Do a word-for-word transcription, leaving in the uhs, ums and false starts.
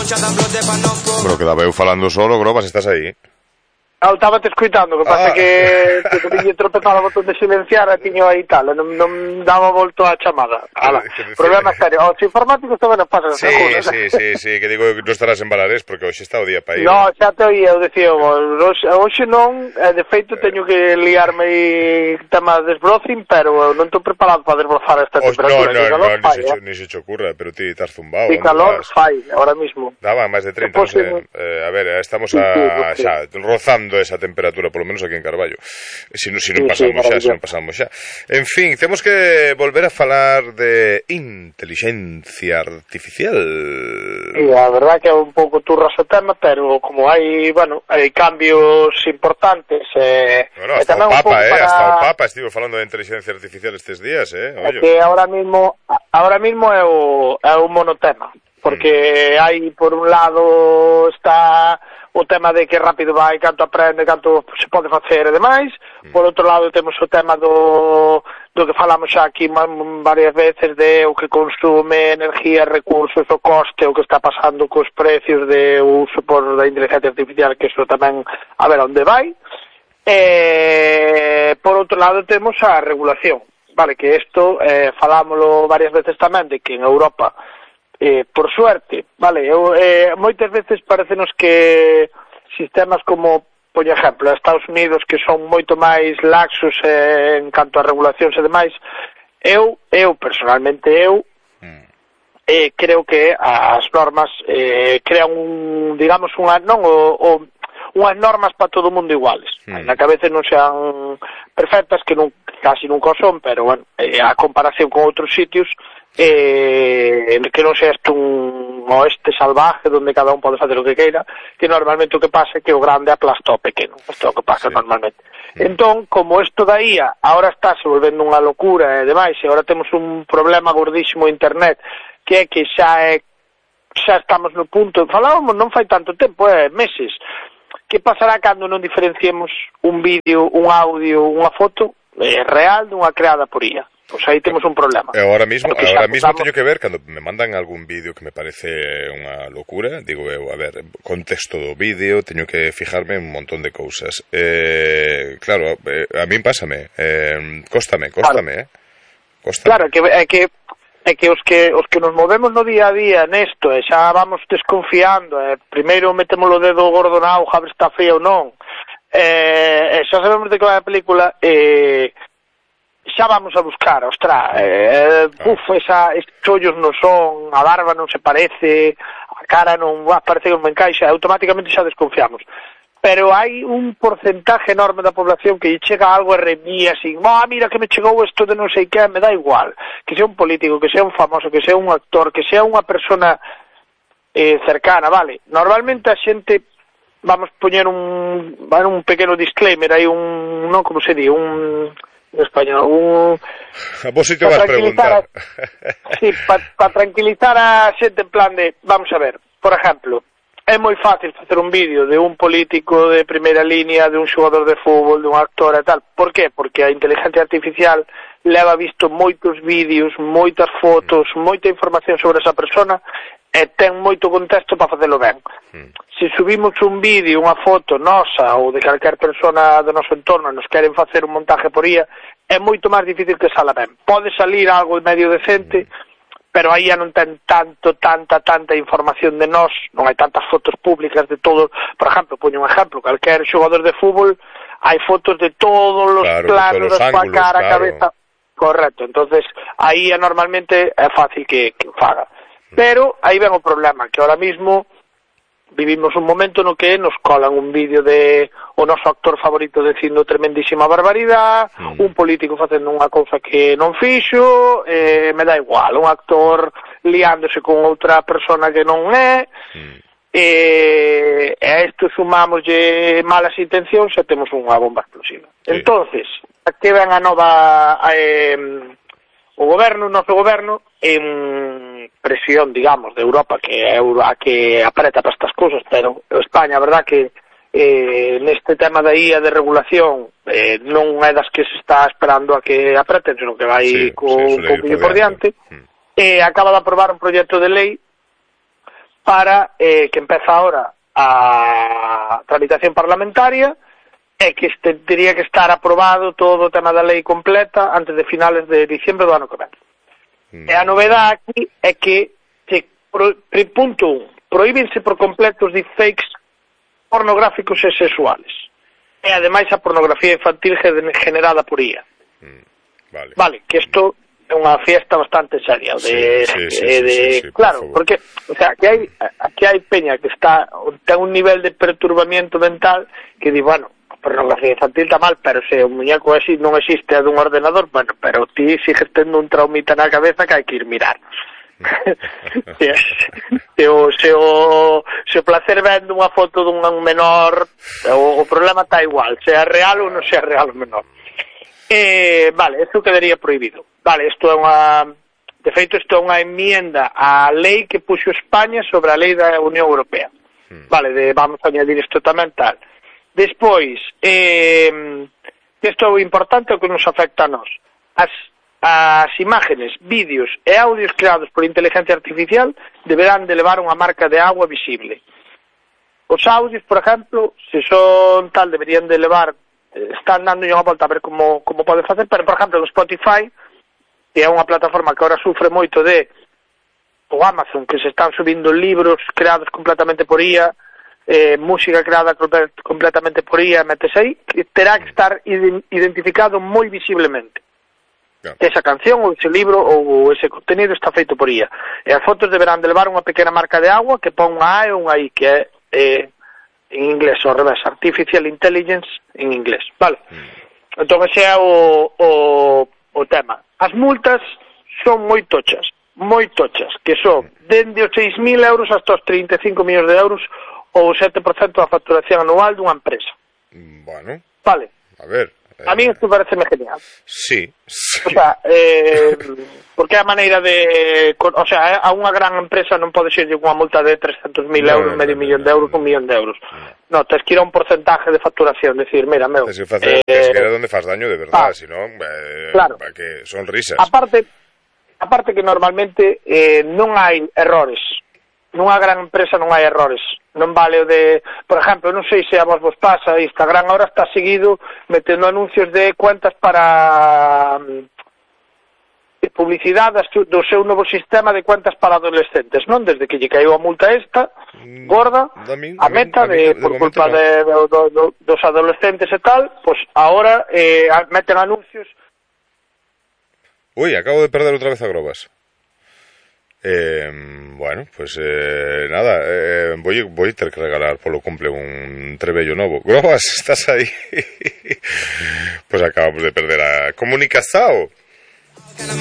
Pero quedaba eu falando solo, Grobas, estás aí? Ah, estaba te escuitando, que pasa ah. que que te tiñe tropezado o botón de silenciar e tiño aí tal, non, non daba volto a chamada. Ala, problema serio. Os informáticos tamén nos pasan, sí, seguro. Sí, sí, sí, que digo que non estarás en Balarés porque hoxe está o día para ir. No, xa te oía, eu dicía, hoxe non, de feito teño que liarme e tema de desbrocing, pero non estou preparado para desbrozar esta temperatura. No, no, no, no, ni se te ocurra, pero ti estás zumbado. E calor fai, ahora mismo. Daba máis de treinta, non sei. A ver, estamos a xa, rozando esa temperatura, polo menos aquí en Carballo. Se non, se non pasamos sí, sí, xa, se non pasamos xa. En fin, temos que volver a falar de inteligencia artificial. Sí, a verdad que é un pouco turras o tema, pero como hai, bueno, hai cambios importantes, eh, bueno, hasta o Papa, eh, para... hasta o Papa estivo falando de inteligencia artificial estes días, eh. É que ahora mismo, ahora mismo é o é un monotema, porque mm. hai por un lado está o tema de que rápido vai, canto aprende, canto se pode facer e demais. Mm. Por outro lado temos o tema do, do que falamos xa aquí varias veces de o que consume energía, recursos, o coste, o que está pasando cos precios de uso por da inteligencia artificial, que iso tamén a ver onde vai. E por outro lado temos a regulación, vale, que isto eh, falámoslo varias veces tamén, de que en Europa Eh, por suerte, vale, eu, eh, moitas veces parecenos que sistemas como, por exemplo, Estados Unidos, que son moito máis laxos eh, en canto a regulacións e demais, eu, eu personalmente, eu eh, creo que as normas eh, crean un, digamos, unha, non, o, o, unhas normas para todo o mundo iguales, mm. na que a veces non sean perfectas, que non, casi nunca son, pero, bueno, eh, a comparación con outros sitios, eh, que non sea isto un oeste salvaje donde cada un pode facer o que queira, que normalmente o que pasa é que o grande aplasta o pequeno, isto é o que pasa sí. normalmente. Sí. Entón, como isto da I A ahora está se volvendo unha locura e demais, e agora temos un problema gordísimo en internet, que é que xa é xa estamos no punto, falábamos non fai tanto tempo, é meses, que pasará cando non diferenciemos un vídeo, un audio, unha foto eh, real dunha creada por I A? Pois aí temos un problema. E agora mismo, agora mismo teño que ver, cando me mandan algún vídeo que me parece unha locura, digo eu, a ver, contexto do vídeo, teño que fijarme en un montón de cousas. Eh, claro, eh, a min pásame, eh, cóstame, cóstame, claro. eh. Cóstame. Claro, que, é que é que os que os que nos movemos no día a día nesto, e xa vamos desconfiando, e primeiro metemos o dedo gordo na auga a ver se está fría ou non, e, e xa sabemos de que vai a película, e xa vamos a buscar, ostra, eh, puf, esa, estes ollos non son, a barba non se parece, a cara non, ah, parece que non me encaixa, automáticamente xa desconfiamos. Pero hai un porcentaje enorme da población que lle chega algo e remía así, ah, mira que me chegou isto de non sei que, me dá igual, que sea un político, que sea un famoso, que sea un actor, que sea unha persona eh, cercana, vale. Normalmente a xente, vamos poñer un, vale, un pequeno disclaimer, hai un, non como se di, un... en español, un... A vos si te vas a preguntar. A, sí, para pa tranquilizar a xente en plan de, vamos a ver, por exemplo, é moi fácil facer un vídeo de un político de primeira línea, de un xogador de fútbol, de un actor e tal. Por qué? Porque a inteligencia artificial leva visto moitos vídeos, moitas fotos, moita información sobre esa persona e ten moito contexto para facelo ben. Mm. Se subimos un vídeo, unha foto nosa ou de calquer persona do noso entorno e nos queren facer un montaje por I A, é moito máis difícil que sala ben. Pode salir algo medio decente, mm. pero aí non ten tanto, tanta, tanta información de nós, non hai tantas fotos públicas de todo. Por exemplo, poño un exemplo, calquer xogador de fútbol, hai fotos de todos os claro, planos da súa cara, claro. Cabeza. Correcto, entonces aí normalmente é fácil que, que faga. Pero aí ven o problema, que ahora mismo vivimos un momento no que nos colan un vídeo de o noso actor favorito dicindo tremendísima barbaridade, mm. un político facendo unha cousa que non fixo, eh, me dá igual, un actor liándose con outra persona que non é, mm. e a isto sumámoslle malas intencións e temos unha bomba explosiva. Sí. Entonces, aquí ven a nova eh, o goberno, o noso goberno, en presión, digamos, de Europa, que é a que apreta para estas cousas, pero España, a verdad que eh, neste tema da I A de regulación eh, non é das que se está esperando a que apreten, senón que vai sí, co, sí, un pouquinho por diante, mm. eh, acaba de aprobar un proxecto de lei para eh, que empeza ahora a tramitación parlamentaria e que este, teria que estar aprobado todo o tema da lei completa antes de finales de diciembre do ano que ven. Mm. E a novedade aquí é que, que pro, punto un, prohíbense por completo os deepfakes pornográficos e sexuales. E ademais a pornografía infantil generada por I A. Mm. Vale. Vale, que isto é unha fiesta bastante seria de, sí, sí, sí, de, de sí, sí, sí, claro, por porque o sea, aquí hai aquí hai peña que está ten un nivel de perturbamiento mental que di, bueno, a pornografía infantil está mal, pero se o muñeco así non existe a dun ordenador, bueno, pero ti sigues tendo un traumita na cabeza que hai que ir mirar. se, se, o, se, o, se o placer vendo unha foto dun menor, o, o problema está igual, sea real ou non sea real o menor. Eh, vale, eso quedaría prohibido. Vale, isto é unha... De feito, isto é unha enmienda á lei que puxo España sobre a lei da Unión Europea. Mm. Vale, de, vamos a añadir isto tamén tal. Despois, eh, isto é o importante o que nos afecta a nós. As, as imágenes, vídeos e audios creados por inteligencia artificial deberán de levar unha marca de agua visible. Os audios, por exemplo, se son tal, deberían de levar... Están dando unha volta a ver como, como pode facer, pero, por exemplo, no Spotify, que é unha plataforma que ahora sufre moito de o Amazon, que se están subindo libros creados completamente por I A, eh, música creada completamente por I A, metes aí, que terá que estar identificado moi visiblemente. Yeah. Esa canción, ou ese libro, ou ese contenido está feito por I A. E as fotos deberán de levar unha pequena marca de agua que pon unha A e unha I, que é, eh, en inglés, ao revés, Artificial Intelligence en inglés, vale? Mm. Entón, ese é o, o, o tema. As multas son moi tochas, moi tochas, que son dende os seis mil euros hasta os trinta e cinco millóns de euros ou o sete por cento da facturación anual dunha empresa. Bueno. Vale. A ver. Eh... A mí isto pareceme genial. Sí, sí. O sea, eh, porque é a maneira de... O sea, a unha gran empresa non pode ser unha multa de trescentos mil euros, no, medio no, millón no, de euros, no, un millón de euros. No, no, tens que ir a un porcentaje de facturación, decir, mira, meu... Tens que facer, eh, tens que ir a donde faz daño de verdad, ah, senón, eh, claro. Que son risas. Aparte, aparte que normalmente eh, non hai errores. Nunha gran empresa non hai errores. Non vale o de... Por exemplo, non sei se a vos vos pasa, Instagram ahora está seguido metendo anuncios de cuentas para... de publicidade do seu novo sistema de cuentas para adolescentes, non? Desde que lle caiu a multa esta, gorda, a meta de, por culpa de, de, de, dos adolescentes e tal, pois ahora eh, meten anuncios. Ui, acabo de perder outra vez a Grobas. Eh, bueno, pues eh, nada, eh, voy, voy a tener que regalar polo cumple un trebello novo. Grobas, estás aí? Pues acabamos de perder a comunicación.